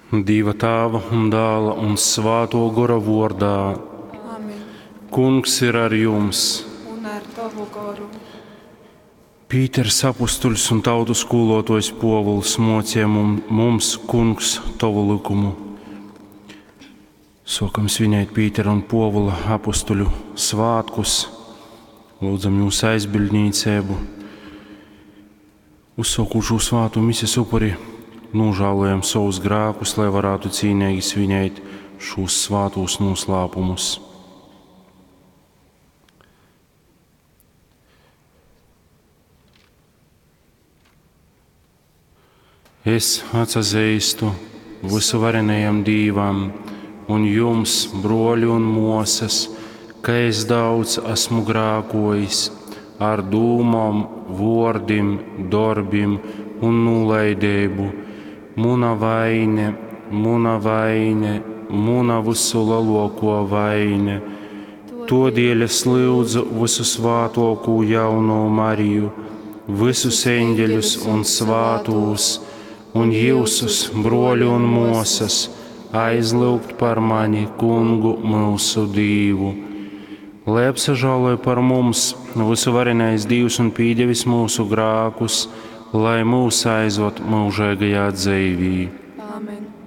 Dīva Tāva un Dāla un Svātō Gora vōrdā. Amen. Kungs ir ar jums. Un ar tovu goru. Pīters apustuļs un tautu skūlōtōjs Pōvuls mōcīja mums, Kungs, tovu lykumu. Sōkam svinēt Pītera un Pōvula apustuļu svātkus. Lūdzam jūs aizbildnīceibu. Uzsōkot šū svātu mises upuri, nožēlojam savus grēkus, lai varētu cīnīgi svinēt šos svātos noslēpumus. Es atsazīstu visuvarenajam Dīvam un jums, broļi un mosas, ka es daudz esmu grēkojis ar dūmom, vōrdim, dorbim un nūlaidību. Muna vaine, muna vaine, muna visu lielāko vaine. Todēļ es lūdzu visu svātōkū jauno Mariju, visus eņģeļus un svātūs, un jūsus, broļi un mosas, aizlūgt par mani, Kungu mūsu Dīvu. Lai apsažāloja par mums visuvarenais Dīvs un pīdevis mūsu grākus, lai mūs aizved mūžīgajā dzīvī. Amen.